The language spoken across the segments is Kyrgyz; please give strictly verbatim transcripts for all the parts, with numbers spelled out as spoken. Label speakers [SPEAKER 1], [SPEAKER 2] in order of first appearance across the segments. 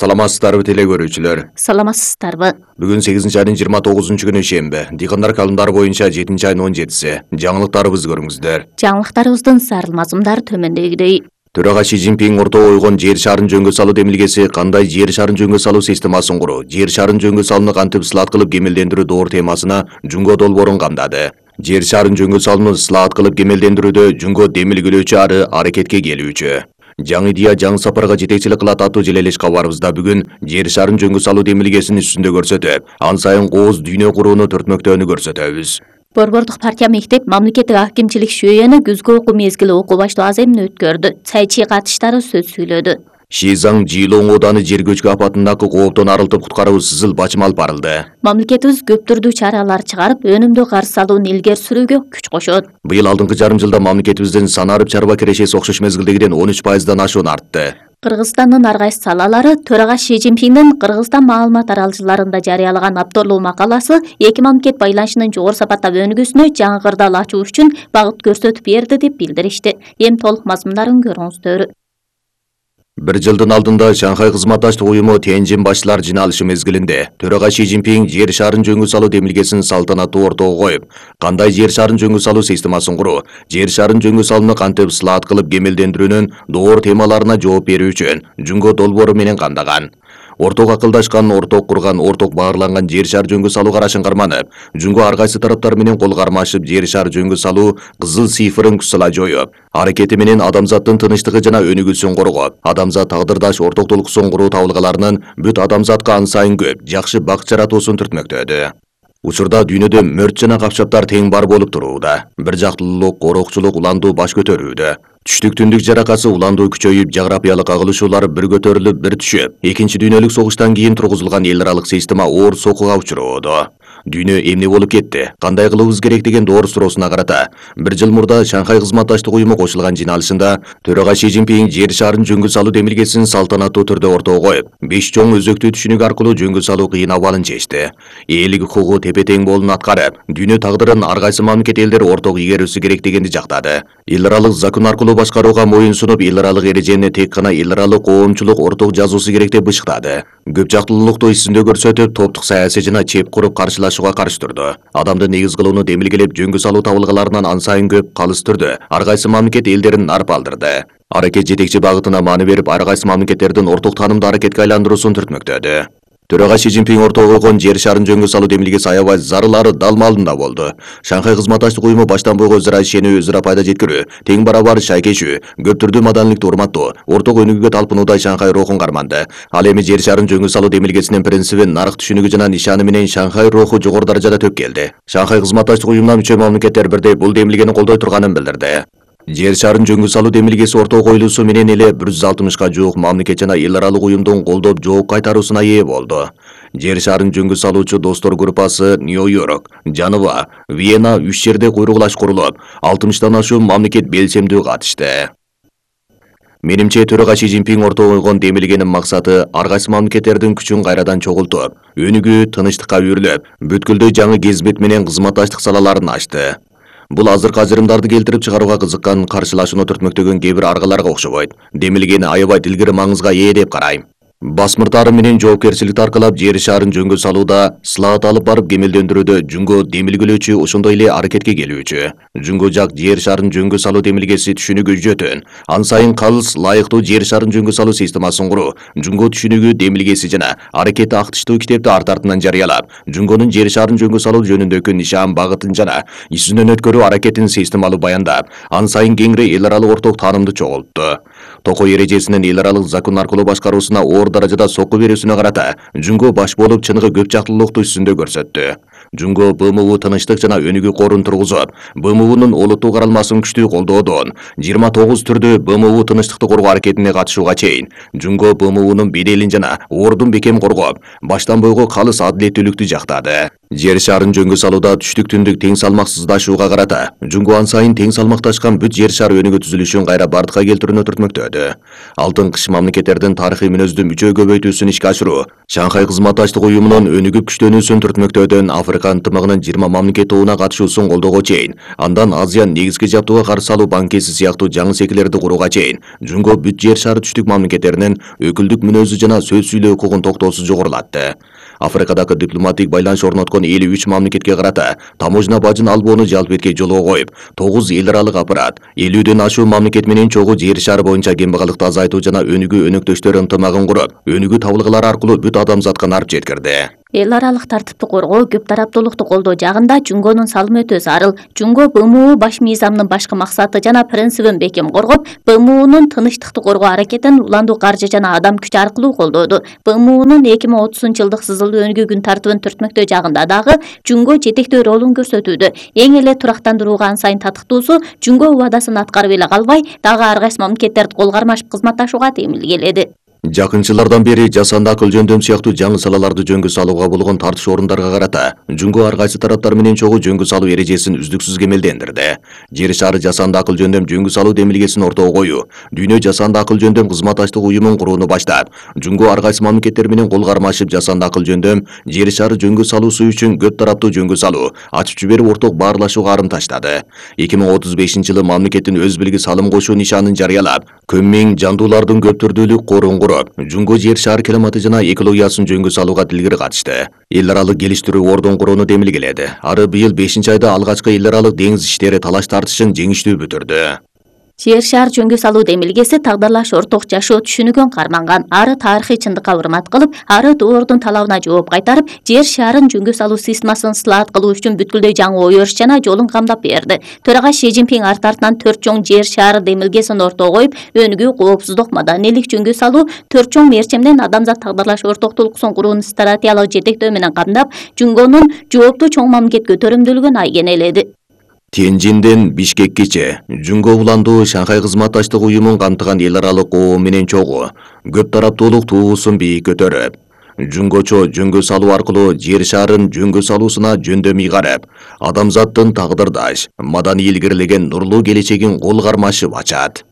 [SPEAKER 1] Саламатсыздарбы теле көрүүчүлөр.
[SPEAKER 2] Саламатсыздарбы.
[SPEAKER 1] Бүгүн сегизинчи айдын жыйырма тогузунчу күнү шемби. Дыйкандар календарь боюнча жетинчи айдын он жетиси. Жаңылыктарыбызды көрүңүздөр.
[SPEAKER 2] Жаңылыктарыбыздын зарыл мазмундары төмөндөгүдөй.
[SPEAKER 1] Төрага Си Цзиньпин ортого койгон жер шарын жөнгө салуу демилгеси кандай жер шарын жөнгө салуу системасын куруу, жер шарын жөнгө салууну кантип сылаат кылып кемелдендирүү доор темасына Жунго долбоорун камдады. Жер шарын жөнгө салууну сылаат кылып кемелдендирүүдө Жунго демилгелөөчү ары аракетке келүүчү. Жаңы идея жаңы сапарга жетекчилик кылат аттуу желелеш кабарыбызда бүгүн жер шарын жөнгө салуу демилгесинин үстүндө көрсөтүп, ан сайын кооз дүйнө курууну түртмөктөөнү көрсөтөбүз.
[SPEAKER 2] Борбордук партия мектеп мамлекеттик акимчилик шүйөөнү күзгү окуу мезгили окуу баштоо аземин өткөрдү. Цайчи катыштары сөз сүйлөдү.
[SPEAKER 1] Шизаң Жилоң ооданы жер көчкү апатындагы кооптон арылтып куткаруу сызыл бачым алып барылды.
[SPEAKER 2] Мамлекетибиз көп түрдүү чаралар чыгарып, өнүмдүү каршы алууну илгери сүрүүгө күч кошот.
[SPEAKER 1] Быйыл алдыңкы жарым жылда мамлекетибиздин санарып чарба кирешеси окшош мезгилдегиден он үч пайыздан ашуун артты.
[SPEAKER 2] Кыргызстандын ар кайсы салалары төрага Си Цзиньпиндин Кыргызстан маалымат аралжыларында жарыялаган апторлуу макаласы эки мамлекет байланышынын жогору сапаттагы өнүгүүсүнө жаңы кырдаал ачуу үчүн багыт көрсөтүп берди деп билдиришти. Эми толук мазмундарын көрүңүздөр.
[SPEAKER 1] Бир жылдын алдында Шанхай кызматташтык уюму Тяньжин башчылар жыйналышы мезгилинде төрага Си Цзиньпин жер шарын жөнгө салуу демилгесин салтанаттуу ортого коюп, кандай жер шарын жөнгө салуу системасын куруу, жер шарын жөнгө салууну кантип сылаат кылып кемелдендирүүнүн доор темаларына жооп берүү үчүн Жунго долбоору менен камдаган. Орток акылдашкан, орток курган, орток баарланган жер шар жөнгө салуу карашын карманып, Жунго ар кайсы тараптар менен кол кармашып жер шар жөнгө салуу кызыл цифрын күсала жоюп, аракети менен адамзаттын тынычтыгы жана өнүгүүсүн коргоп, адамзат тагдырдаш ортоктулуксун куруу табылгаларынын бүт адамзатка ан сайын көп жакшы бак жаратуусун түртмөктөдү. Учурда дүйнөдө мөрт жана капчаптар тең бар болуп турууда. Бир жактылуулук, ороокчулук, уландуу баш көтөрүүдө. Түштүк түндүк жаракасы уландуу күчөйүп, жаграпиялык агылышуулар бир көтөрүлүп, бир түшүп, Экинчи дүйнөлүк согуштан кийин тургузулган эл аралык система оор сокуга учуроодо. Дүйнө эмне болуп кетти? Кандай кылыбыз керек деген доор суроосуна карата бир жыл мурда Шанхай кызматташтык уюму кошулган жыйналышында төрага Си Цзиньпин жер шарын жөнгө салуу демилгесин салтанаттуу түрдө ортого коюп, беш чоң өзөктүү түшүнүк аркылуу жөнгө салуу кыйын абалын чечти. Элдик укугу тепе-тең болун аткарып, дүйнө тагдырын ар кайсы мамлекет элдер орток игерүүсү керек дегенди жактады. Эл аралык закон аркылуу башкарууга моюн сунуп, эл аралык эрежени тек гана эл аралык коомчулук орток жазуусу керек деп бышыктады. Көп жактылуулукту эсинде көрсөтүп, топтук саясий жана чеп куруп каршылашууга каршы турду. Адамды негиз кылууну демилгелеп, жөнгө салуу табылгаларынан ан сайын көп калыс түрдө ар кайсы мамлекет элдерин нарп алдырды. Аракет жетекчи багытына маани берип, ар кайсы мамлекеттердин орток таанымды аракетке айландыруусун түртмөктөдү. Төрага Си Цзиньпин ортого койгон жер шарын жөнгө салуу демилгеси аябай зарылары далмалында болду. Шанхай кызматташтык уюму баштан бойго өзара ишенүү, өзара пайда жеткирүү, тең барабар шайкешүү, көп түрдүү маданийликти урматтоо, орток өнүгүүгө талпынуудай Шанхай рухун карманды. Ал эми жер шарын жөнгө салуу демилгесинин принцибин, нарык түшүнүгү жана нишаны менен Шанхай руху жогору даражада төп келди. Шанхай кызматташтык уюмуна мүчө мамлекеттер бирдей бул демилгени колдой турганын билдирди. Жер шарын жөнгө салуу демилгеси ортого коюлуусу менен эле бир жүз алтымышка жуук мамлекет жана эл аралык уюмдун колдоп жооп кайтаруусуна ээ болду. Жер шарын жөнгө салуучу достор группасы Нью-Йорк, Жанова, Вена үч жерде куйругулаш курулуп, алтымыштан ашуун мамлекет белсемдүү катышты. Менимче төрага Си Цзиньпин ортого койгон демилгенин максаты ар кайсы мамлекеттердин күчүн кайрадан чогултуп, өнүгүү, тынычтыкка үйрүлүп, бүткүлдүү жаңы кезбет менен кызматташтык салаларын ачты. Бул азыркы ажырымдарды келтирип чыгарууга кызыккан, каршылашууну түртмөктөгөн кээ бир аргаларга окшобойт. Демилгени аябай илгери маңызга ээ деп карайм. Басмыртары менен жоопкерчиликти аркалап жер шарын жөнгө салууда сылаат алып барып кемелдендирүүдө Жунго демилгелөөчү, ошондой эле аракетке келүүчү. Жунго жак жер шарын жөнгө салуу демилгеси түшүнүгү жөтөн, ан сайын калыс, лайыктуу жер шарын жөнгө салуу системасын куруу, Жунго түшүнүгү демилгеси жана аракети актыштуу китепти арт артынан жарыялап, Жунгонун жер шарын жөнгө салуу жөнүндөгү нишан багытын жана изүнөн өткөрүү аракетин системалуу баяндап, ан сайын кеңири эл аралык орток таанымды чогултту. Токой эрежесинин эл аралык закон аркылуу башкаруусуна оор даражада сокку берүүсүнө карата Жунго баш болуп чыныгы көп жактылуулукту үстүндө көрсөттү. Жунго Б М У тынычтык жана өнүгүү корун тургузуп, Б М Унун олуттуу каралмасын күчтүү колдоодон жыйырма тогуз түрдүү Б М У тынычтыкты коргоо аракетине катышууга чейин Жунго Б М Унун беделин жана ордун бекем коргоп, баштан бойго калыс адилеттүүлүктү жактады. Жер шарын жөнгө салууда түштүк-түндүк тең салмаксыздашууга карата Жунгу ан сайын тең салмакташкан бүт жер шары өнүгүү түзүлүшүн кайра бардыкка келтирүүнү түртмөктөдү. Алтын кыш мамлекеттердин тарыхый мүнөздүү мүчө көбөйтүүсүн ишке ашыруу, Шанхай кызматташтык уюмунун өнүгүп күчтөнүүсүн түртмөктөөдөн Африка ынтымагынын жыйырма мамлекет тобуна катышуусун колдоого чейин, андан Азиянын негизги жабдууга каршы алуу банкеси сыяктуу жаңы секилерди курууга чейин Жунго бүт жер шары түштүк мамлекеттеринин өкүлдүк мүнөзү жана сөз сүйлөө укугун токтоосуз жогорулатты. Африкадагы дипломатик байланыш орноткон элүү үч мамлекетке карата таможня бажын албоону жалп этке жолго коюп, тогуз эл аралык аппарат, элүүдөн ашуун мамлекет менен чогуу жер шары боюнча кембагалыкты азайтуу жана өнүгүү өнөктөштөр ынтымагын куруп, өнүгүү табылгалары аркылуу бүт адамзатка нарп жеткирди.
[SPEAKER 2] Эл аралык тартипти коргоо, көп тараптуулукту колдоо жагында Жунгонун салымы өтө зарыл. Жунго Б М У баш мыйзамынын башкы максаты жана принцибин бекем коргоп, Б М Унун тынычтыкты коргоо аракетин уландуу каржы жана адам күчү аркылуу колдоду. Б М Унун эки миң отузунчу жылдык сызылуу өнүгүү күн тартыбын түртмөктөө жагында дагы Жунго жетектөө ролун көрсөтүүдө. Эң эле турактандырууга ан сайын татыктуусу Жунго убадасын аткарып эле калбай, дагы ар кайсы мамлекеттерди кол кармашып кызматташууга темилгеледи.
[SPEAKER 1] Жакын жылдардан бери жасанды акыл жөндөм сыяктуу жаңы салаларды жөнгө салууга болгон тартыш орундарга карата Жунго ар кайсы тараптар менен чогуу жөнгө салуу эрежесин үздүксүз кемелдендирди. Жер шары жасанды акыл жөндөм жөнгө салуу демилгесин ортого коюу, дүйнө жасанды акыл жөндөм кызматташтык уюмун курууну баштап, Жунго ар кайсы мамлекеттер менен кол кармашып жасанды акыл жөндөм жер шары жөнгө салуусу үчүн көп тараптуу жөнгө салуу, ачып жиберип орток баарлашууга арым таштады. эки миң отуз бешинчи жылы мамлекеттин өз билги салым кошуу нишанын жарыялап, көм миң жандуулардын көп түрдүүлүк корун Жунго жер шары климаты жана экологиясын жөнгө салууга тилгири катышты. Эл аралык келиштирүү ордун курууну демилгеледи. Ары быйыл бешинчи айда алгачкы эл аралык деңиз иштери талаш тартышын жеңиштүү бүтүрдү.
[SPEAKER 2] Жер шар жөнгө салуу демилгеси тагдырлаш орток жашоо түшүнүгүн карманган. Ары тарыхый чындыкка урмат кылып, ары доордун талабына жооп кайтарып, жер шарын жөнгө салуу системасын ысылаат кылуу үчүн бүткүлдөй жаңы ой өрүш жана жолун камдап берди. Төрага Ши Цзиньпин арт артынан төрт чоң жер шары демилгесин ортого коюп, өнүгүү, коопсуздук, маданийлик жөнгө салуу төрт чоң мерчемден адамзат тагдырлаш ортоктулуксун курууну стратегиялык жетектөө менен камдап, Жунгонун жооптуу чоң мамлекет көтөрүмдүүлүгүн айгенеледи.
[SPEAKER 1] Тяньцзинден Бишкеккече Жунго уландуу Шанхай кызматташтык уюмун камтыган эл аралык коом менен чогуу көп тараптуулук туусун бийик көтөрүп, Жунгочо жөнгө салуу аркылуу жер шарын жөнгө салуусуна жөндөм ыйгарып, адамзаттын тагдырдаш, маданий илгерилеген нурлуу келечегин кол кармашып ачат.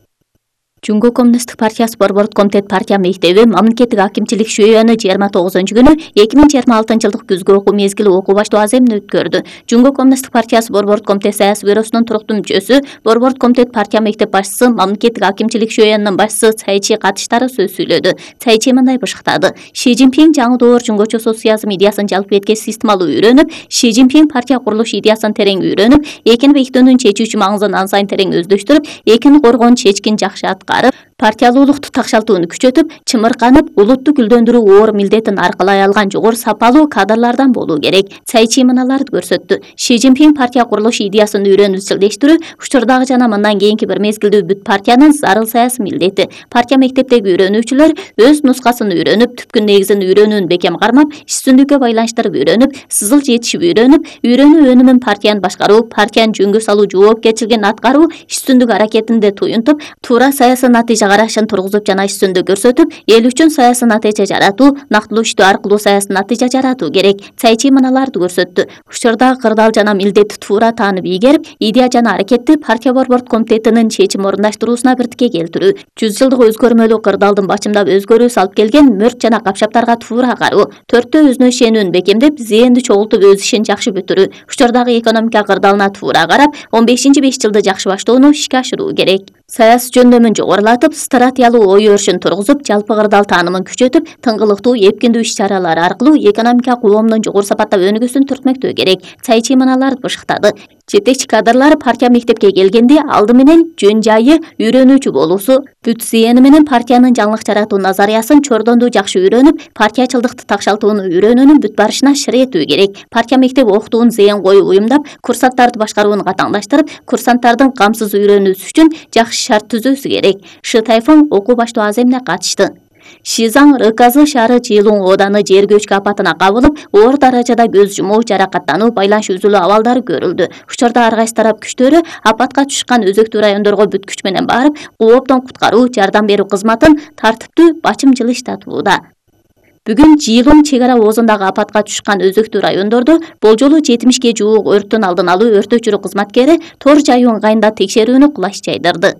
[SPEAKER 2] Жунго Коммунисттик партиясы Борбордук комитет партия мектеби мамлекеттик акимчилик шүйөнү жыйырма тогузунчу күнү эки миң жыйырма алтынчы жылдык күзгү окуу мезгили окуу баштоо аземин өткөрдү. Жунго Коммунисттик партиясы Борбордук комитет саясий бюросунун туруктуу мүчөсү, Борбордук комитет партия мектеп башчысы, мамлекеттик акимчилик шүйөнүнүн башчысы Цайчи катыштары сөз сүйлөдү. Цайчи мындай бышыктады: Ши Цзиньпин жаңы доор жунгочо социализм идеясын жалпы этке системалуу үйрөнүп, Ши Цзиньпин партия курулуш идеясын терең үйрөнүп, экини бекитүүнүн чечүүчү маңызын ан сайын терең өздөштүрүп, экини коргоонун чечкин жакшы аткарып, партиялуулукту такшалтууну күчөтүп, чымырканып, улутту гүлдөндүрүү оор милдетин аркалай алган жогору сапалуу кадрлардан болуу керек. Цайчи мыналарды көрсөттү. Ши Цзиньпин партия курулуш идеясын үйрөнүп изчилдештирүү учурдагы жана мындан кийинки бир мезгилдүү бүт партиянын зарыл саясий милдети. Партия мектептеги үйрөнүүчүлөр өз нускасын үйрөнүп, түпкү негизин үйрөнүүнү бекем кармап, иш-түздүккө байланыштырып үйрөнүп, сызыл жетишип үйрөнүп, үйрөнүү өнүмүн партияны башкаруу, партиянын жөнгө салуу жоопкерчилигин аткаруу, иш-түздүк аракетинде туюнтуп, туура саясий натыйжа карашын тургузуп жана иш-түздүк көрсөтүп, эл үчүн саясий натыйжа жаратуу, нактылуу иштөө аркылуу саясий натыйжа жаратуу керек. Цайчи мыналарды көрсөттү. Учурдагы кырдаал жана милдетти туура таанып ийгерип, идея жана аракетти партия Борбордук комитетинин чечим орундаштыруусуна биртикке келтирүү, жүз жылдык өзгөрмөлүү кырдаалдын бачымдап өзгөрүү салып келген мөрт жана капшаптарга туура кароо, төрттөө өзүнө ишенүүнү бекемдеп, зээнди чогултуп өз ишин жакшы бүтүрүү, учурдагы экономика кырдаалына туура карап, он бешинчи беш жылды жакшы баштоону ишке ашыруу керек. Саясий жөндөмүн жогорулатып, стратегиялуу ой өрүшүн тургузуп, жалпы кырдаал таанымын күчөтүп, тыңгылыктуу, эпкиндүү иш-чаралар аркылуу экономика коомдун жогору сапаттап өнүгүүсүн түртмөктөө керек. Цайчи мыналарды бышыктады. Жетекчи кадрлар партия мектепке келгенде алды менен жөн жайы үйрөнүүчү болуусу, бүт зээни менен партиянын жаңылык жаратуу назариясын чордондуу жакшы үйрөнүп, партиячылдыкты такшалтууну үйрөнүүнүн бүт барышына шыр этүү керек. Партия мектеби окутууну зээн коюп уюмдап, курсанттарды башкарууну катаңдаштырып, курсанттардын камсыз үйрөнүүсү үчүн жакшы шарт түзүүсү керек. Шы Тайфун окуу баштоо аземине катышты. Шизаң Рыказы шаары Чилуң ооданы жер көчкү апатына кабылып, оор даражада көз жумуу, жаракаттануу, байланыш үзүлүү абалдары көрүлдү. Учурда ар кайсы тарап күчтөрү апатка түшкөн өзөктүү райондорго бүт күч менен барып, кооптон куткаруу, жардам берүү кызматын тартиптүү, бачым жылыштатууда. Бүгүн Жылуң чек ара оозундагы апатка түшкөн өзөктүү райондордо болжолу жетимишке жуук өрттүн алдын алуу өрт өчүрүү кызматкери тор жаюу ыңгайында текшерүүнү кулаш жайдырды.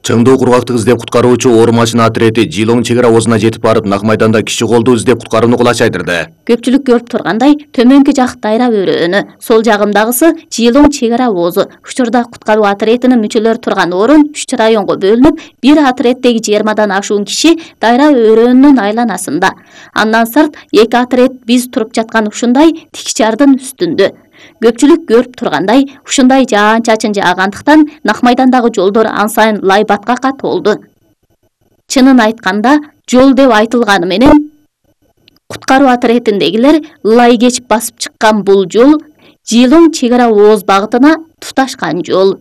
[SPEAKER 1] Чыңдоо кургактык издеп куткаруучу оор машина отрети Жылуң чек ара оозуна жетип барып, нак майданда киши колду издеп куткарууну кулаш жайдырды.
[SPEAKER 2] Көпчүлүк көрүп тургандай, төмөнкү жак дайра өрөөнү, сол жагымдагысы Жылуң чек ара оозу. Учурда куткаруу отретинин мүчөлөрү турган орун үч районго бөлүнүп, бир отреттеги жыйырмадан ашуун киши дайра өрөөнүнүн айланасында. Андан сырт эки отрет биз туруп жаткан ушундай тик жардын үстүндө. Көпчүлүк көрүп тургандай, ушундай жаан-чачын жаагандыктан нак майдандагы жолдор ан сайын лай баткакка толду. Чынын айтканда, жол деп айтылганы менен куткаруу отретиндегилер лай кечип басып чыккан бул жол Жылуң чек ара ооз багытына туташкан жол.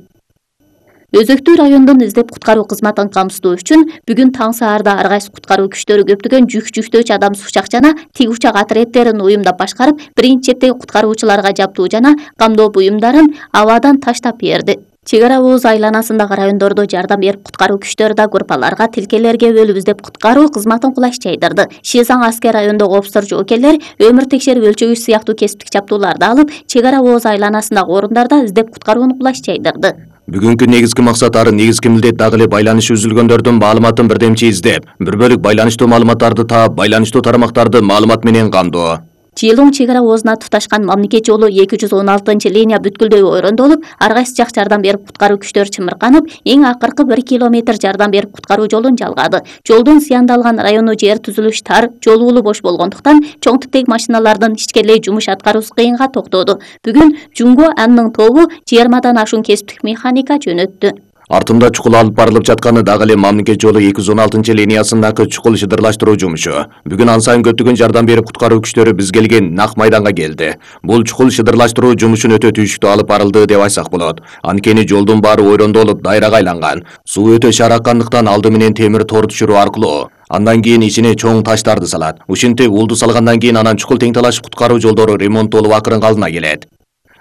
[SPEAKER 2] Өзөктүү райондун издеп куткаруу кызматын камсыздоо үчүн бүгүн таң саарда ар кайсы куткаруу күчтөрү көптөгөн жүк жүктөөчү адамсыз учак жана тик учак отреттерин уюмдап башкарып, биринчи чептеги куткаруучуларга жаптуу жана камдоо буюмдарын абадан таштап берди. Чек ара ооз айланасындагы райондордо жардам берип куткаруу күчтөрү да группаларга, тилкелерге бөлүп издеп куткаруу кызматын кулаш жайдырды. Шизаң аскер райондогу офицер жоокерлер өмүр текшерип өлчөгүч сыяктуу кесиптик жаптууларды алып, чек ара ооз айланасындагы орундарда издеп куткарууну кулаш жайдырды.
[SPEAKER 1] Бүгүнкү негизги максат ары негизги милдет дагы эле байланышы үзүлгөндөрдүн маалыматын бирдемчи издеп, бір бөлүк байланыштуу маалыматтарды таап, байланыштуу тармактарды маалымат менен камдоо.
[SPEAKER 2] Жылуң чек ара оозуна туташкан мамлекет жолу эки жүз он алтынчы линия бүткүлдөй ойрондолуп, ар кайсы жак жардам берип куткаруу күчтөрү чымырканып, эң акыркы бир километр жардам берип куткаруу жолун жалгады. Жолдун зыяндалган району жер түзүлүш тар, жол уулу бош болгондуктан чоң типтеги машиналардын ичкерлей жумуш аткаруусу кыйынга токтоду. Бүгүн Жумго анын тобу жыйырмадан ашуун кесиптик механика жөнөттү.
[SPEAKER 1] Артында чукул алып барылып жатканы дагы эле мамлекет жолу эки жүз он алтынчы линиясындагы чукул шыдырлаштыруу жумушу. Бүгүн ан сайын көптөгөн жардам берип куткаруу күчтөрү биз келген нак майданга келди. Бул чукул шыдырлаштыруу жумушун өтө түшүктүү алып барылды деп айтсак болот. Анткени жолдун баары ойрондолуп, дайрага айланган. Суу өтө шараккандыктан алды менен темир тор түшүрүү аркылуу, андан кийин ичине чоң таштарды салат. Ушинтип улду салгандан кийин анан чукул тең талашып куткаруу жолдору ремонттолуп акырын калдына келет.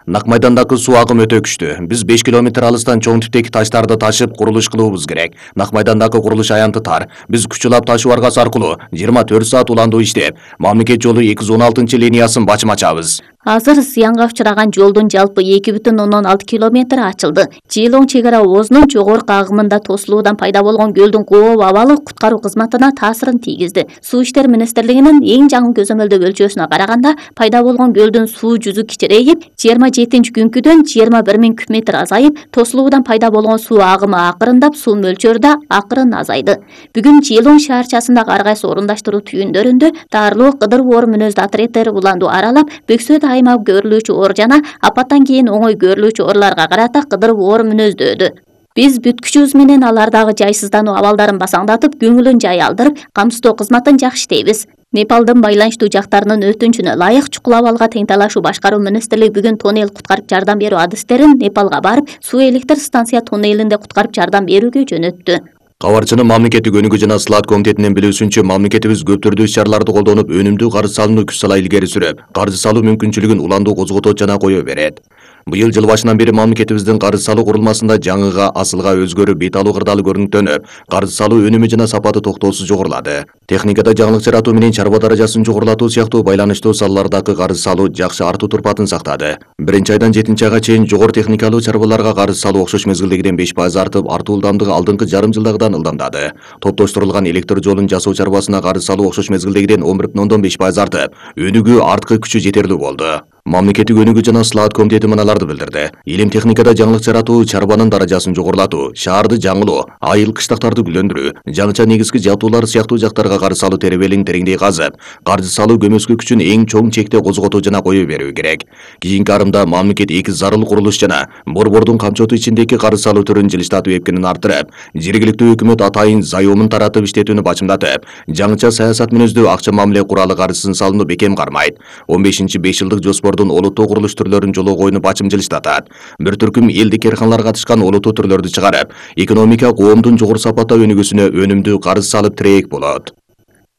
[SPEAKER 1] Нак майдандагы суу агымы өтө күчтүү. Биз беш километр алыстан чоң типтеги таштарды ташып курулуш кылуубуз керек. Нак майдандагы курулуш аянты тар. Биз күч улап ташуу аргасы аркылуу жыйырма төрт саат уландуу иштеп, мамлекет жолу эки жүз он алтынчы линиясын бачым ачабыз.
[SPEAKER 2] Азыр зыянга учураган жолдун жалпы эки бүтүн ондон алты километри ачылды. Жылуң чек ара оозунун жогорку агымында тосулуудан пайда болгон көлдүн кооп абалы куткаруу кызматына таасирин тийгизди. Суу иштер министрлигинин эң жаңы көзөмөлдөө өлчөөсүнө караганда, пайда болгон көлдүн суу жүзү кичирейип, жыйырма жетинчи күнкүдөн жыйырма бир миң куб метр азайып, тосулуудан пайда болгон суу агымы акырындап, суу мөлчөрү да акырын азайды. Бүгүн Жылуң шаарчасындагы ар кайсы орундаштыруу түйүндөрүндө Таарлоо, Кыдыруу оор мүнөздүү отреттери уландуу аралап, Бөксөт айма көрүлүүчү оор жана апаттан кийин оңой көрүлүүчү ooрлорго карата кыдыруу оор мүнөздөөдү. Биз бүткүчүбүз менен алардагы жайсыздануу абалдарын басаңдатып, көңүлүн жай алдырып, камсыздоо кызматын жакшы иштейбиз. Непалдын байланыштуу жактарынын өтүнчүнө ылайык чукул абалга тең талашуу башкаруу министрлиги бүгүн тоннель куткарып жардам берүү адистерин Непалга барып, суу электр станция тоннелинде куткарып жардам берүүгө жөнөттү.
[SPEAKER 1] Кабарчынын мамлекеттик өнүгүү жана сылаат комитетинин билүүсүнчө, мамлекетибиз көп түрдүү иш-чараларды колдонуп, өнүмдүү каржы салууну күч сала илгери сүрөп, каржы салуу мүмкүнчүлүгүн уландуу козготот жана кое берет. Быйыл жыл башынан бери мамлекетибиздин каржы салуу курулмасында жаңыга, асылга өзгөрүп, бет алуу кырдаалы көрүнүктөнүп, каржы салуу өнүмү жана сапаты токтоосуз жогорулады. Техникада жаңылык жаратуу менен чарба даражасын жогорулатуу сыяктуу байланыштуу салалардагы каржы салуу жакшы артуу турпатын сактады. Биринчи айдан жетинчи айга чейин жогору техникалуу чарбаларга каржы салуу окшош мезгилдегиден беш пайыз артып, артуу ылдамдыгы алдыңкы жарым жылдагыдан ылдамдады. Топтоштурулган электр жолун жасоо чарбасына каржы салуу окшош мезгилдегиден он бир бүтүн ондон беш пайыз артып, өнүгүү арткы күчү жетерлүү болду. Мамлекеттик өнүгүү жана сылаат комитети мыналарды билдирди. Илим техникада жаңылык жаратуу, чарбанын даражасын жогорулатуу, шаарды жаңылоо, айыл кыштактарды гүлдөндүрүү, жаңыча негизги жабдуулар сыяктуу жактарга каржы салуу теребелин тереңдей казып, каржы салуу көмөскө күчүн эң чоң чекте козготуу жана кое берүү керек. Кийинки арымда мамлекет эки зарыл курулуш жана борбордун камчоту ичиндеги каржы салуу түрүн жылыштатып эпкинин арттырып, жергиликтүү өкмөт атайын заёмун таратып иштетүүнү бачымдатып, жаңыча саясат мүнөздүү акча мамиле куралы каржысын салууну бекем кармайт. он бешинчи беш жылдык жоспор олуттуу курулуш түрлөрүн жолго коюуну бачым жылыштатат. Бир түркүм элдик керканалар катышкан олуттуу түрлөрдү чыгарып, экономика коомдун жогору сапатта өнүгүүсүнө өнүмдүү каржы салып тирээк болот.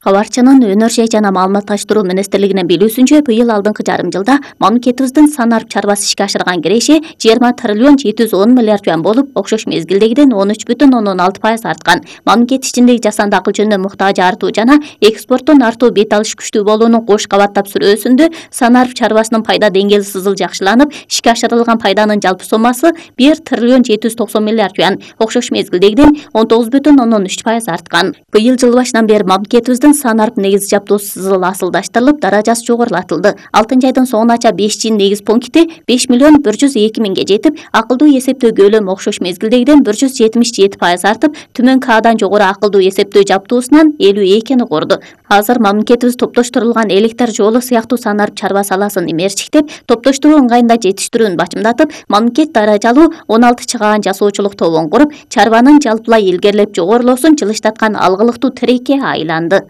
[SPEAKER 2] Кабарчынын Өнөр жана маалыматташтыруу министрлигинин билүүсүнчө, быйыл алдыңкы жарым жылда мамлекетибиздин санарып чарбасы ишке ашырган киреше жыйырма триллион жети жүз он миллиард жуан болуп, окшош мезгилдегиден он үч бүтүн ондон алты пайыз арткан. Мамлекет ичиндеги жасанды акыл жөнүнө муктаж артуу жана экспорттон артуу бет алыш күчтүү болуунун кош кабаттап сүрөөсүндө санарып чарбасынын пайда деңгээли сызыл жакшыланып, ишке ашырылган пайданын жалпы соммасы бир триллион жети жүз токсон миллиард жуан, окшош мезгилдегиден он тогуз бүтүн ондон үч пайыз арткан. Быйыл жыл башынан бери мамлекетибиздин санарып негиз жабдуусу сызыл асылдаштырылып, даражасы жогорулатылды. алтынчы айдын соңунача беш жин негиз пункти беш миллион бир жүз эки миңге жетип, акылдуу эсептөө көлөмү окшош мезгилдегиден бир жүз жетимиш жети пайыз артып, түмөн К'дан жогору акылдуу эсептөө жабдуусунан элүү экини курду. Азыр мамлекетибиз топтоштурулган электр жолу сыяктуу санарып чарба саласын имерчиктеп, топтоштуруу ыңгайында жетиштирүүнү бачымдатып, мамлекет даражалуу он алты чыгаан жасоочулук тобун куруп, чарбанын жалпылай илгерилеп жогорулоосун жылыштаткан алгылыктуу тирекке айланды.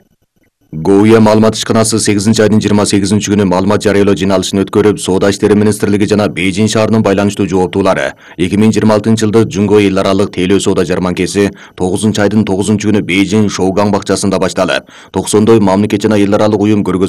[SPEAKER 1] ГОУЯ маалымат ишканасы сегизинчи айдын жыйырма сегизинчи күнү маалымат жарыялоо жыйналышын өткөрүп, Соода иштери министрлиги жана Бейжин шаарынын байланыштуу жооптуулары эки миң жыйырма алтынчы жылды Жунго эл аралык тейлөө соода жарманкеси тогузунчу айдын тогузунчу күнү Бейжин Шоугаң бакчасында башталып, токсондой мамлекет жана эл аралык уюм көргөзмө